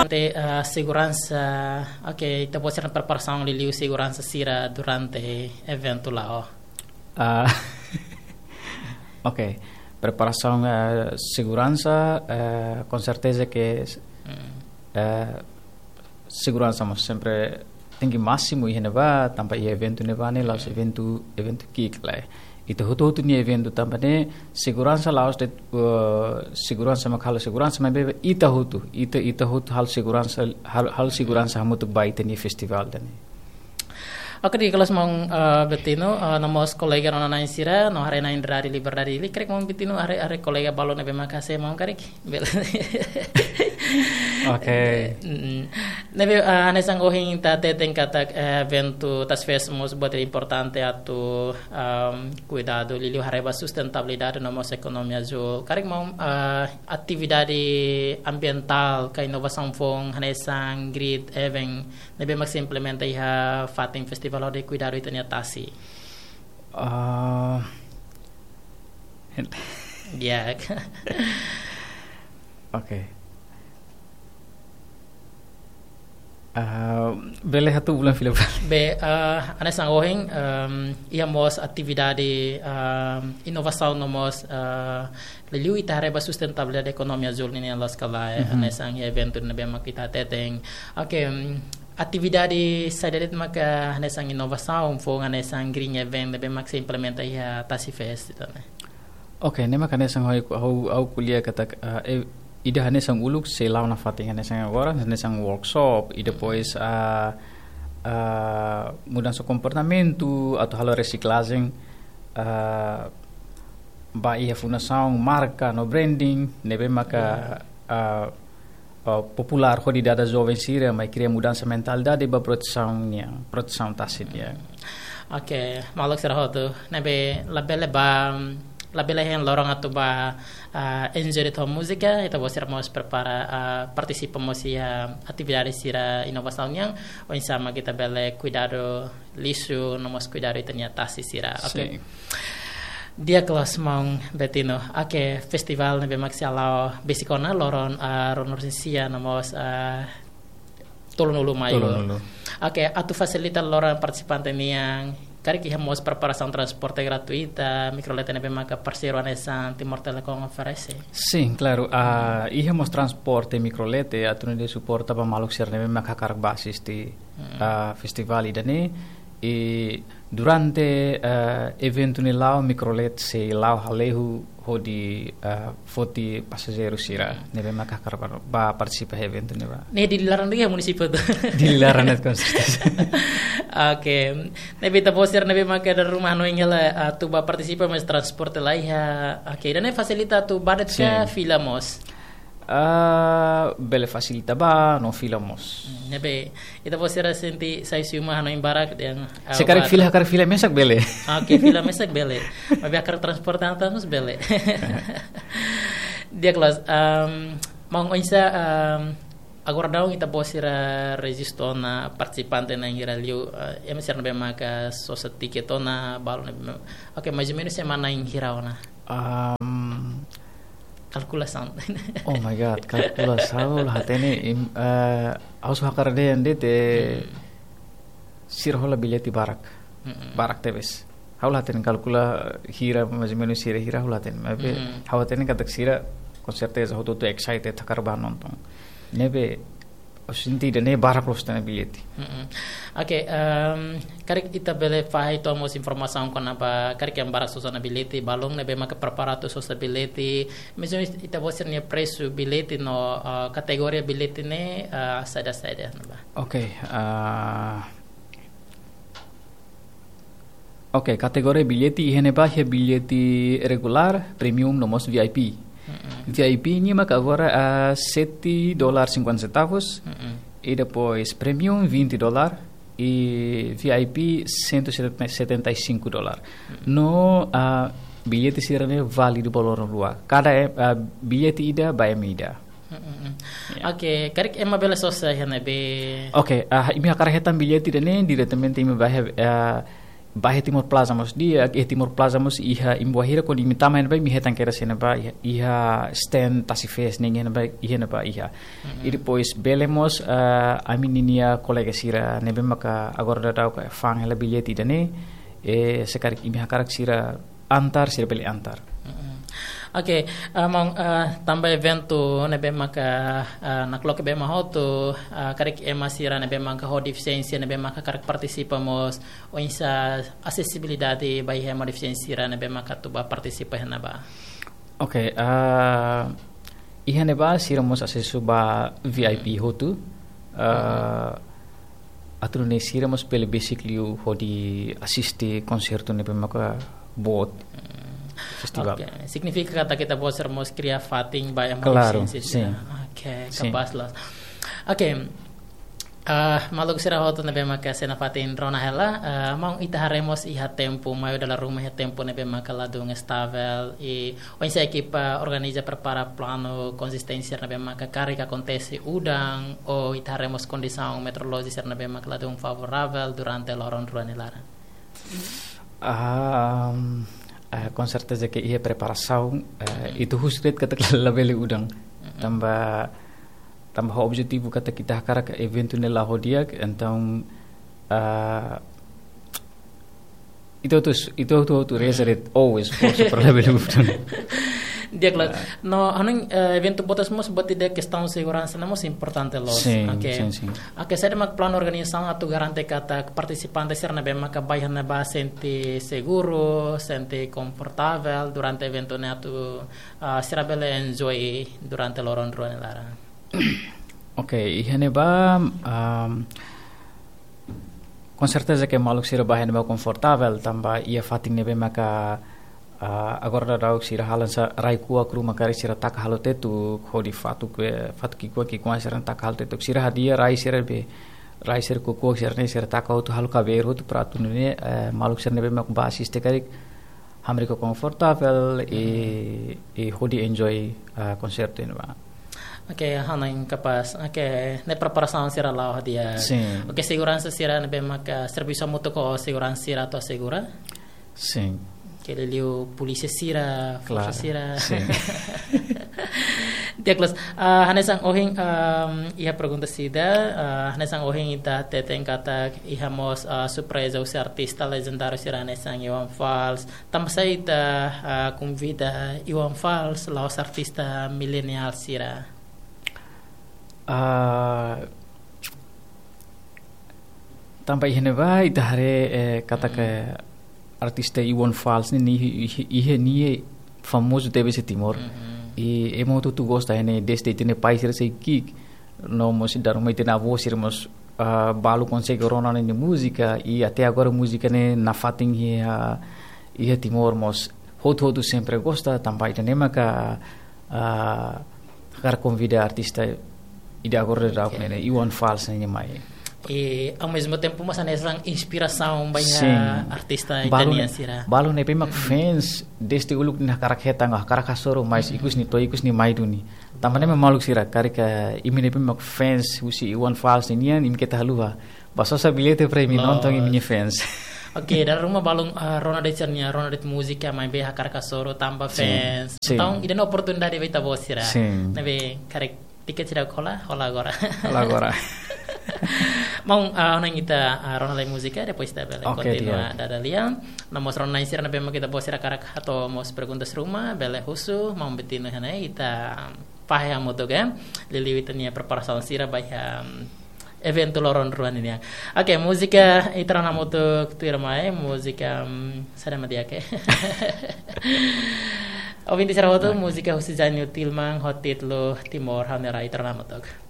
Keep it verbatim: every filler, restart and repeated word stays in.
Te, ah, seguransa, oke, ita-boot sira-nia preparasaun liuliu seguransa sira durante eventu la'o. Ah, oke, preparasaun, eh, seguransa, eh, com certeza que, eh, seguransa mós sempre tenke másimu iha ne'ebá, tanba iha eventu ne'ebá ne'e la'ós eventu, eventu ki'ik lai. Ita hotu-hotu nia eventu tanba ne'e seguransa la'ós de'it, eh, seguransa mak halo seguransa, maibé ita hotu, ita, ita hotu halo seguransa, halo, halo seguransa hamutuk ba ita-nia festivál ida-ne'e. Oke, di'ak, kelas maun, eh, Betino, eh, no mós kolega rona-na'in sira, no haree-na'in Rádiu Liberdade Dili, karik maun Betino, haree, haree kolega balu ne'ebé mak hase'e maun karik. Bele. Oke. Mm. Ne'ebé, ah, hanesan ohin ita hateten katak, eh, eventu Tasifest mós buat importante atu, ahm, kuidadu liuliu haree ba sustentabilidade no mós ekonomia azúl. Karik maun, ah, atividade ambientál ka inovasaun foun hanesan green event ne'ebé mak sei implementa iha fatin festivál hodi kuidadu ita-nia tasi. Ah, Ya. Oke. Ah, bele hato'o ulang fila-fila. Be, ah, hanesan ohin, ehm, iha mós atividade, ehm, inovasaun no mós, ah, liuliu ita haree ba sustentabilidade ekonomia azúl nian loos ka lae, hanesan iha eventu ne'ebé mak ita hateten. Oke, em, atividade saida de'it maka hanesan inovasaun foun hanesan green event ne'ebé mak sei implementa iha Tasifest ida-ne'e? Oke, ne'e maka hanesan ha'u, ha'u, ha'u ko'alia katak, eh, eh, ida hanesan uluk sei la'o nafatin hanesan agora, hanesan workshop, i depois, ah, ah, mudansa komportamentu, atu halo resiklajen, ah, ba iha fundasaun, marka, no branding, ne'ebé maka, ah, ah, populár hodi dada joven sira mai kria mudansa mentalidade ba protesaun nian, protesaun tasi nian. Oke, maluk sira hotu, ne'ebé labele ba, labele hein loron atu ba, ah, enjoy ho múzika, ita-boot sira mós prepara, ah, partisipa mós iha atividade sira inovasaun nian, oinsá mak ita bele kuidadu lixu, no mós kuidadu ita-nia tasi sira. Oke. Sin. Di'ak, kelas maun Betino. Oke, festivál ne'ebé mak sei hala'o besik ona loron, ah, ruanulu-resin-sia no mós, ah, tolunulu Maiu. Tolunulu. Oke, atu fasilita loron partisipante nian, karik iha mós preparasaun transporte gratuita, Microlete ne'ebé maka parseiru hanesan Timor Telecom oferese? Sin, klaru. Ah, iha mós transporte Microlete, atu nune'e suporta ba maluk sira ne'ebé maka hakarak ba asisti, ah, festivál ida-ne'e. I durante, eh, eventu ne'e la'o, Microlete sei la'o hale'u hodi, eh, foti pasajeiru sira ne'ebé maka hakarak ba, ba partisipa iha eventu ne'ebá. Ne'e Dili laran de'it ka munisípiu hotu? Dili laran de'it, com certeza. Oke. Ne'ebé ita-boot sira ne'ebé maka dala ruma hanoin hela, eh, atu ba partisipa, mas transporte la iha. Oke, ida-ne'e fasilita atu ba de'it ka fila mós? Ah, bele fasilita ba, no fila mós. Hmm, ne'ebé ita-boot sira sente sai husi uma hanoin barak dehan, ah, se karik barak. Fila, karik fila mesak bele. Oke, fila mesak bele. Maibé hakarak transporte antas mós bele. Di'ak, kelas, ehm, maun, oinsá, ehm, agora daudaun ita-boot sira rejista ona partisipante na'in hira liu, eh, ema sira ne'ebé maka sosa tiket ona, balu ne'ebé ma-, oke, mais ou menos ema na'in hira ona? Ehm, Kalkulasaun. Oh my God, kalkulasaun la hatene, im-, eh, ha'u só hakarak dehan de'it, sira hola billete barak. Mm-mm. Barak tebes. Ha'u la hatene kalkula hira, mais ou menos sira hira ha'u la hatene. Maibé ha'u hatene katak sira, com certeza, hotu-hotu excited hakarak ba nonton. Ne'ebé, ha'u sente ida-ne'e barak loos tiha ona billete. Mm-mm. Oke, ehm, karik ita bele fahe uitoan mós informasaun kona-ba karik ema barak sosa ona billete, balun ne'ebé maka prepara atu sosa billete, mais ou menos ita-boot sira-nia presu billete no, eh, kategoria billete ne'e, eh, saida-saida ne'ebá? Oke, ah, oke, kategoria billete iha ne'ebá iha billete regulár, premium no mós V I P. Mm-mm. V I P nian maka agora, ah, sete dólar cinquenta centavos. Mm-mm. I depois premium vinte dólar i V I P cento e setenta e cinco dólar. Mm-mm. No, ah, billete sira-ne'e válidu ba loron rua. Kada, eh, ah, billete ida ba ema ida. Mm, mm, mm. Ya. Oke, karik ema bele sosa iha ne'ebé? Oke, ah, imi hakarak hetan billete ida-ne'e diretamente imi bá iha, ah, Ba iha Timor Plaza mós di'ak, iha Timor Plaza mós iha, imi bá hira kuandu imi tama iha ne'ebá, imi hetan kedas iha ne'ebá, iha, iha stand Tasi Fest nian iha ne'ebá, iha ne'ebá iha. I depois bele mós, ah, ami-ninia kolega sira ne'ebé maka agora daudaun fa'an hela billete ida-ne'e, eh, se karik imi hakarak sira antar, sira bele antar. Mm-mm. Oke, ah, maun, ah, tanba eventu ne'ebé maka, ah, nakloke ba ema hotu, ah, karik ema sira ne'ebé maka ho defisiénsia ne'ebé maka karik partisipa mós, oinsá asesibilidade ba iha ema defisiénsia sira ne'ebé maka atu bá partisipa iha ne'ebá? Oke, ah, iha ne'ebá sira mós asesu ba V I P hotu. Ah, atu nune'e sira mós bele besik liu hodi asiste konsertu ne'ebé maka boot, festival. Oke, signifika katak ita-boot sira mós kria fatin ba ema defisiénsia sira. Klaru, sin. Oke, kapás loos. Oke, ah, maluk sira hotu ne'ebé maka sei nafatin rona hela, ah, maun, ita haree mós iha tempu, mai dala ruma iha tempu ne'ebé maka ladún estavel, i oinsá ekipa organiza prepara planu konsisténsia ne'ebé maka karik akontese udan, ou ita haree mós kondisaun meteorolójika sira ne'ebé maka ladún favoravel durante loron rua nia laran? Ah, ah, konserteza ke iha preparasaun, eh, ita husu de'it katak labele udan. Tanba, tanba ho objetivu katak ita hakarak eventu ne'e la'o di'ak, entaun, ah, ita hotu, ita hotu, hotu reza de'it, always forsa para labele udan. Di'ak loos. No, hanoin, eh, eventu boot mós buat ida kestaun seguransa ne'e mós importante loos. Sin, oke, sin, sin. Oke, saida mak planu organizasaun atu garante katak partisipante sira ne'ebé maka bá iha ne'ebá sente seguru, sente konfortavel durante eventu ne'e atu, ah, sira bele enjoy durante loron rua nia laran? Oke, iha ne'ebá, am, konserteza ke maluk sira bá iha ne'ebá konfortavel, tanba iha fatin ne'ebé maka, ah, agora daudaun sira halo hanesan rai kuak ruma karik sira taka halo tetuk, hodi fatuk, eh, fatuk ki'ikoan ki'ikoan sira taka halo tetuk. Sira hadi'a rai sira be, rai sira kuak-kuak sira-ne'e sira taka hotu halo kabeiru hotu para atu nune'e, eh, maluk sira ne'ebé mak bá asiste karik hamriik ho konfortavel i, i hodi enjoy, ah, konsertu ne'ebá. Oke, hanoin kapás. Oke, ne'e preparasaun sira la'o di'ak. Sin. Oke, seguransa sira ne'ebé maka servisu hamutuk ho seguransa sira atu asegura? Sin. Oke, liuliu polísia sira, forsa sira. Klaru, sin. Di'ak loos. Ah, hanesan ohin, ehm, iha pergunta ida, ah, hanesan ohin ita hateten katak iha mós, ah, surpreza husi artista lejendáriu sira hanesan Iwan Fals. Tanba sá ita, ah, konvida Iwan Fals la'ós artista mileniál sira? Ah, tanba iha ne'ebá ita haree, eh, katak artista Iwan Fals ne'e, ne'e, ne'e, ne'e famozu tebes iha Timor. I ema hotu-hotu gosta, ne'e desde ita-nia pais sira sei ki'ik. No mós dala ruma ita-nia avó sira mós, ah, balu konsege rona nia múzika, i até agora múzika ne'e nafatin iha, iha Timor mós hotu-hotu sempre gosta, tanba ida-ne'e maka, ah, hakarak konvida artista ida agora daudaun ne'e, Iwan Fals ne'e mai. I ao mesmo tempo mós hanesan inspirasaun ba iha, sin, artista balu ita-nian ne'e, sira. Balu ne'ebé mak fans desde uluk nia hakarak hetan, hakarak hasoru, mais ikus nia to'o ikus nia mai duni. Tanba ne'e mak maluk sira, karik imi ne'ebé mak fans husi Iwan Fals nian, imi keta haluha bá sosa billete para imi nonton imi-nia fans. Oke, dala ruma balun, ah, rona de'it sira-nia, rona de'it múzika maibé hakarak hasoru tanba fans. Sin. Entaun, ida-ne'e oportunidade ba ita-boot sira. Sin. Ne'ebé karik tiket sira hola, hola agora. Hola agora. Maun, ah, hanoin ita, ah, rona lai múzika, depois ita bele kontinua dada lia. No mós rona-na'in sira ne'ebé mak ita-boot sira hakarak hato'o mós perguntas ruma, bele husu, maun Betino iha ne'e, ita fahe hamutuk, eh. Liuliu ita-nia preparasaun sira ba iha, em, eventu loron rua nian. Oke, múzika ita rona hamutuk tuirmai, múzika, em, saida mak di'ak, eh. Ouvinte sira hotu, múzika husi Zainul Tilman, ho títulu Timor Ha'u-nia Rai, ita rona hamutuk.